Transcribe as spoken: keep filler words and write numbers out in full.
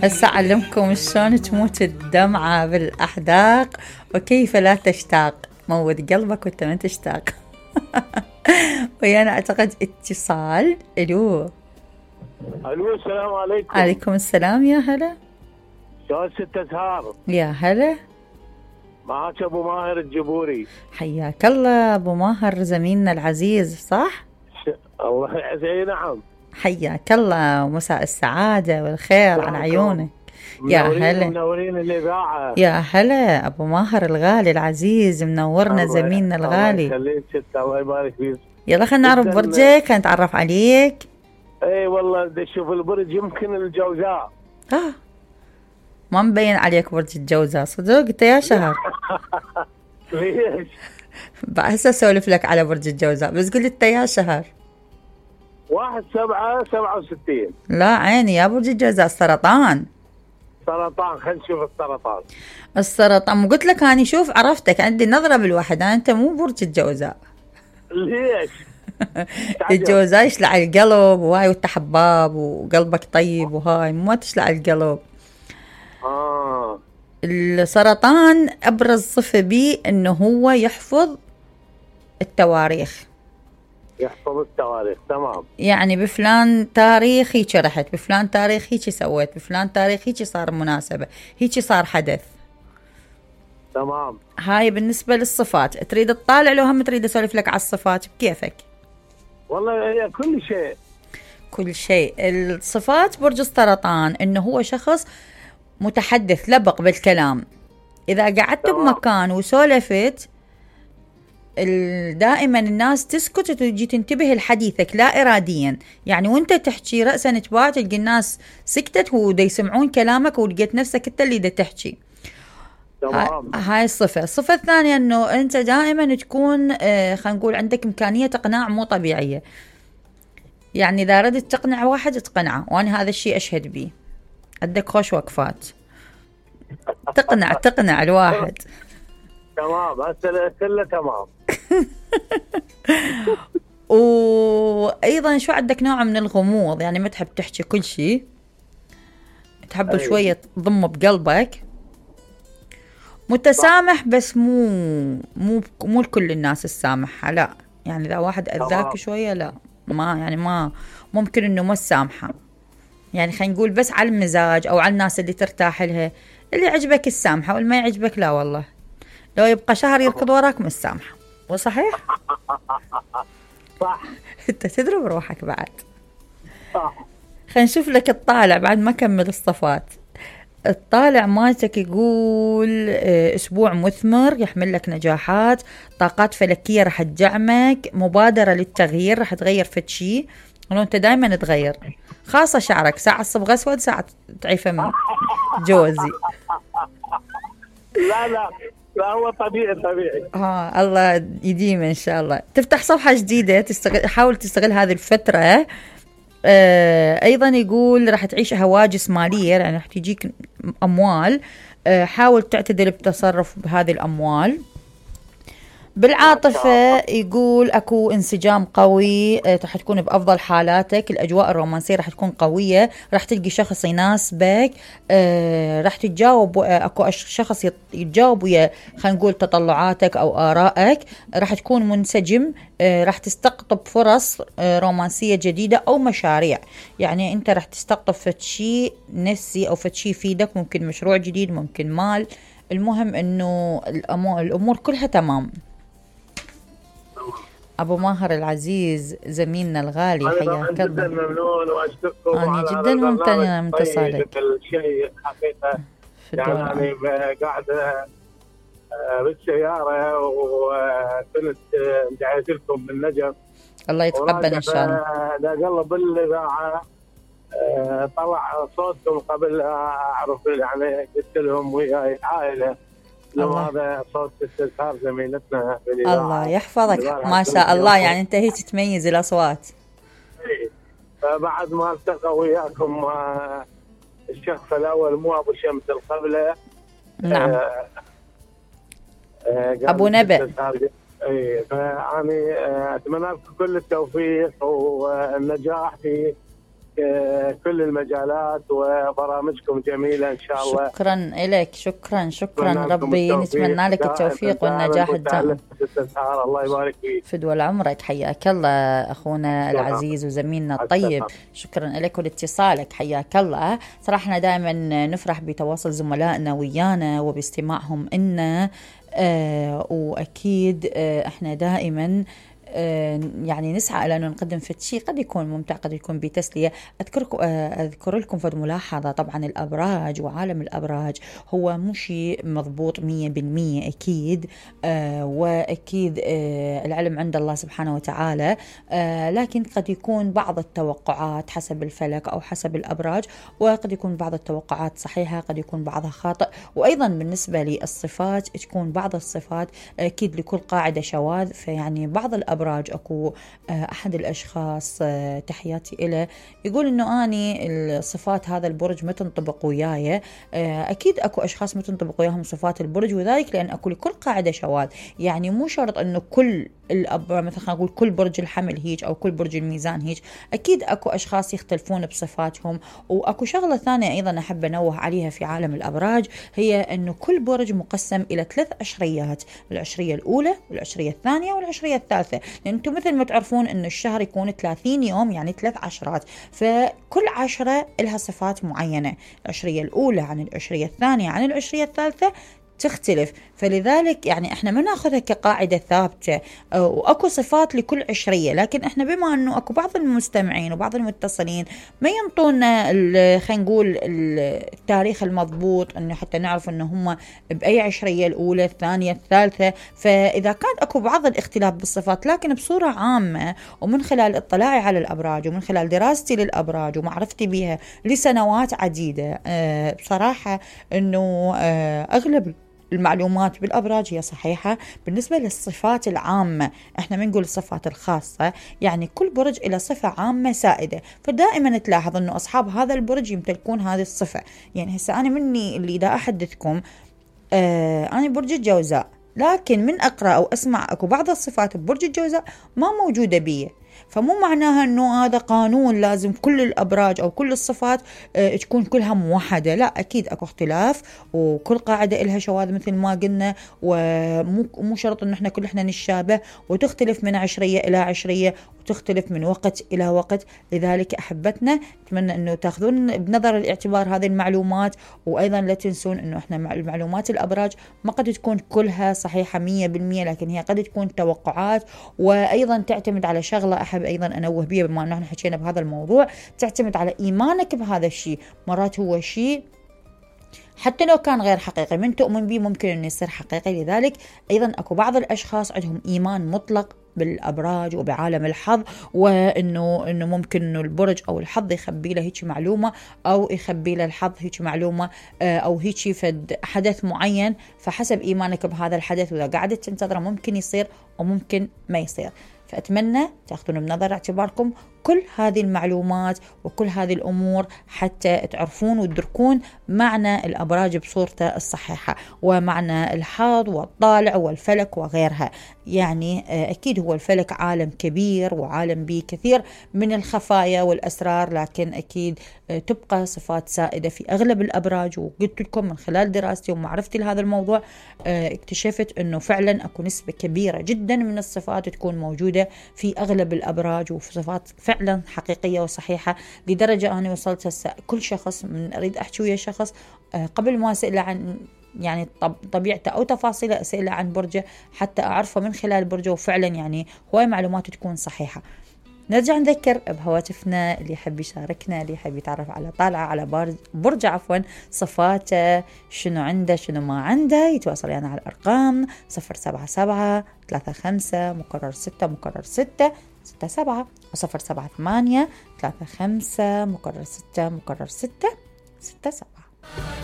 هسه أعلمكم شلون تموت الدمعة بالأحداق وكيف لا تشتاق. موت قلبك وانت ما تشتاق. ويانا أعتقد اتصال. الو الو السلام عليكم. عليكم السلام. يا هلا. شلون ست أزهار؟ يا هلا. معك أبو ماهر الجبوري. حياك الله أبو ماهر زميلنا العزيز. صح؟ ش... الله يعزيه. نعم. حياك الله ومساء السعادة والخير على عيونك. يا هلا. منورين الإذاعة. يا هلا أبو ماهر الغالي العزيز منورنا زميلنا الغالي. الله يخليك ست. الله يبارك فيك. يلا خلينا نعرف برجك نتعرف عليك. اي والله بدي اشوف البرج يمكن الجوزاء. اه ما مبين عليك برج الجوزاء صدق انت يا شهر. ليش؟ هسه اسولف لك على برج الجوزاء بس قل انت يا شهر. واحد سبعة سبعة وستين. لا عيني يا برج الجوزاء السرطان. سرطان. خلينا نشوف السرطان. السرطان قلت لك اني شوف عرفتك عندي نظرة بالوحد. انت مو برج الجوزاء. ليش؟ الجوزاء يشلع القلب وهاي وانت حباب وقلبك طيب وهاي ما تشلع القلب. اه السرطان ابرز صفة بيه انه هو يحفظ التواريخ. يحفظ التواريخ. تمام. يعني بفلان تاريخ هيك رحت، بفلان تاريخ هيك سويت، بفلان تاريخ هيك صار مناسبة، هيك صار حدث. تمام. هاي بالنسبة للصفات. تريد تطالع لو هم تريد اسولف لك على الصفات بكيفك؟ والله هي كل شيء. كل شيء. الصفات برج السرطان انه هو شخص متحدث لبق بالكلام. اذا قعدت تمام. بمكان وسولفت دائما الناس تسكت وتجي تنتبه لحديثك لا اراديا. يعني وانت تحكي رأسا تباع تلقى الناس سكتت ودا يسمعون كلامك ولقيت نفسك انت اللي دا تحكي. تمام. هاي الصفة. الصفة الثانية انه انت دائما تكون آه خلينا نقول عندك امكانية اقناع مو طبيعية. يعني اذا ردت تقنع واحد تقنعه وانا هذا الشيء اشهد به. عندك خوش وقفات تقنع تقنع الواحد. تمام. هسه كله تمام. وايضا شو عندك نوع من الغموض. يعني ما تحب تحكي كل شيء. تحب أي. شوية تضم بقلبك. متسامح بس مو مو مو لكل الناس السامحة. لا يعني اذا واحد اذاك شوية لا ما يعني ما ممكن انه ما تسامحه. يعني خلينا نقول بس على المزاج او على الناس اللي ترتاح لها. اللي يعجبك السامحة واللي ما يعجبك لا والله. لو يبقى شهر يركض وراك مش سامحة. وصحيح؟ صح. انت تضرب روحك بعد. صح. خلينا نشوف لك الطالع بعد ما كمل الصفات. الطالع مالتك يقول اسبوع مثمر يحمل لك نجاحات، طاقات فلكية رح تدعمك، مبادرة للتغيير رح تغير فد شيء. ولو انت دايما تغير خاصة شعرك ساعة صبغ اسود ساعة تعيفه من جوزي. لا لا لا هو طبيعي طبيعي. ها الله يديم ان شاء الله. تفتح صفحة جديدة تستغل حاول تستغل هذه الفترة. آه ايضا يقول راح تعيش هواجس مالية يعني راح تجيك اموال. آه حاول تعتدل بتصرف بهذه الاموال. بالعاطفة يقول اكو انسجام قوي. آه راح تكون بافضل حالاتك. الاجواء الرومانسية راح تكون قوية. راح تلقي شخص يناسبك. آه راح تتجاوب. آه اكو شخص يتجاوب ويا خلينا نقول تطلعاتك او ارائك. راح تكون منسجم. آه راح تستقطب فرص آه رومانسية جديدة او مشاريع. يعني انت راح تستقطب فد شيء نفسي او فد شيء يفيدك. ممكن مشروع جديد ممكن مال. المهم انه الامور كلها تمام. أبو ماهر العزيز زميلنا الغالي حياك الله. أنا جدا ممنون وأشكركم. أنا جدا ممتنة من اتصالك. الشيء حقيقة يعني أنا قاعدة بالسيارة وكنت دعيت لكم بالنجف. الله يتقبل إن شاء الله. دا قلب بالإذاعة طلع صوتكم قبل أعرف يعني قلت لهم وياي عائلة. هذا صوت استذكار زميلتنا بالإذاعة. الله يحفظك ما شاء الله. يعني أنت هيك تميز الأصوات. فبعد ما التقى وياكم الشخص الأول مو أبو شمس القبلة. نعم. آه آه أبو نبأ. اي فأنا أتمنى لكم كل التوفيق والنجاح في كل المجالات وبرامجكم جميلة إن شاء الله. شكرا لك، شكرا شكرا، ربي نتمنى لك التوفيق والنجاح الدائم. الله يبارك فيك. فدوى عمرك، حياك الله أخونا العزيز وزميلنا الطيب. شكرا لك ولاتصالك، حياك الله. صراحة احنا دائما نفرح بتواصل زملائنا ويانا وباستماعهم إنا آه وأكيد آه احنا دائما يعني نسعى إلى أن نقدم في شيء قد يكون ممتع، قد يكون بتسلية. أذكركم أذكر لكم في ملاحظة، طبعا الأبراج وعالم الأبراج هو مو شيء مضبوط مية بالمية أكيد، آه وأكيد آه العلم عند الله سبحانه وتعالى، آه لكن قد يكون بعض التوقعات حسب الفلك أو حسب الأبراج، وقد يكون بعض التوقعات صحيحة، قد يكون بعضها خاطئ. وأيضا بالنسبة للصفات تكون بعض الصفات أكيد لكل قاعدة شواذ، فيعني بعض الأبراج أبراج أكو أحد الأشخاص تحياتي إله يقول إنه أني الصفات هذا البرج ما تنطبق وياي. أكيد أكو أشخاص ما تنطبق وياهم صفات البرج، وذلك لأن أكو لكل قاعدة شواذ. يعني مو شرط إنه كل الأبراج مثلا خلينا نقول كل برج الحمل هيج أو كل برج الميزان هيج، أكيد أكو أشخاص يختلفون بصفاتهم. وأكو شغلة ثانية أيضا أحب أنوه عليها في عالم الأبراج، هي أنه كل برج مقسم إلى ثلاث عشريات، العشرية الأولى والعشرية الثانية والعشرية الثالثة. لأن أنتم مثل ما تعرفون أنه الشهر يكون ثلاثين يوم، يعني ثلاث عشرات، فكل عشرة لها صفات معينة. العشرية الأولى عن العشرية الثانية عن العشرية الثالثة تختلف، فلذلك يعني احنا ما ناخذها كقاعدة ثابتة، واكو صفات لكل عشرية. لكن احنا بما انه اكو بعض المستمعين وبعض المتصلين ما ينطونا خلينا نقول التاريخ المضبوط انه حتى نعرف انه هم باي عشرية، الاولى الثانية الثالثة، فاذا كان اكو بعض الاختلاف بالصفات، لكن بصورة عامة ومن خلال اطلاعي على الابراج ومن خلال دراستي للابراج ومعرفتي بها لسنوات عديدة، اه بصراحة انه اه اغلب المعلومات بالأبراج هي صحيحة. بالنسبة للصفات العامة احنا بنقول الصفات الخاصة، يعني كل برج إلى صفة عامة سائدة، فدائما تلاحظ انه أصحاب هذا البرج يمتلكون هذه الصفة. يعني هسه أنا مني اللي دا أحدثكم، آه أنا برج الجوزاء، لكن من أقرأ أو أسمع أكو بعض الصفات ببرج الجوزاء ما موجودة بيه، فمو معناها أنه هذا قانون لازم كل الأبراج أو كل الصفات اه تكون كلها موحدة. لا، أكيد أكو اختلاف، وكل قاعدة إلها شواذ مثل ما قلنا، ومو شرط أنه إحنا كل إحنا نشابه، وتختلف من عشرية إلى عشرية، وتختلف من وقت إلى وقت. لذلك أحبتنا أتمنى أنه تأخذون بنظر الاعتبار هذه المعلومات، وأيضا لا تنسون أنه إحنا المعلومات الأبراج ما قد تكون كلها صحيحة مية بالمية، لكن هي قد تكون توقعات، وأيضا تعتمد على شغلة أحب أيضا أنوه بيها بما أنه حكينا بهذا الموضوع، تعتمد على إيمانك بهذا الشيء. مرات هو شيء حتى لو كان غير حقيقي من تؤمن به ممكن أن يصير حقيقي. لذلك أيضا أكو بعض الأشخاص عندهم إيمان مطلق بالأبراج وبعالم الحظ، وإنه إنه ممكن إنه البرج أو الحظ يخبي له هيك معلومة، أو يخبي له الحظ هيك معلومة، أو هيك فد حدث معين، فحسب إيمانك بهذا الحدث وإذا قعدت تنتظره ممكن يصير وممكن ما يصير. فأتمنى تأخذون بنظر اعتباركم كل هذه المعلومات وكل هذه الأمور حتى تعرفون وتدركون معنى الأبراج بصورته الصحيحة، ومعنى الحظ والطالع والفلك وغيرها. يعني أكيد هو الفلك عالم كبير وعالم به كثير من الخفايا والأسرار، لكن أكيد تبقى صفات سائدة في أغلب الأبراج. وقلت لكم من خلال دراستي ومعرفتي لهذا الموضوع اكتشفت أنه فعلا أكو نسبة كبيرة جدا من الصفات تكون موجودة في أغلب الأبراج، وفي صفات فعلا حقيقية وصحيحة، لدرجة أنا وصلت هسه كل شخص من أريد أحكي ويا شخص قبل ما أسأله عن يعني طبيعته أو تفاصيله أسأله عن برجه حتى أعرفه من خلال برجه، وفعلا يعني هواي معلومات تكون صحيحة. نرجع نذكر بهواتفنا اللي يحب يشاركنا، اللي يحب يتعرف على طالعة على برج عفوا صفاته، شنو عنده شنو ما عنده، يتواصل يعني على الأرقام صفر سبعة سبعة ثلاثة خمسة مكرر ستة مكرر ستة ستة سبعة، وصفر سبعة ثمانية ثلاثة خمسة مكرر ستة مكرر ستة ستة سبعة.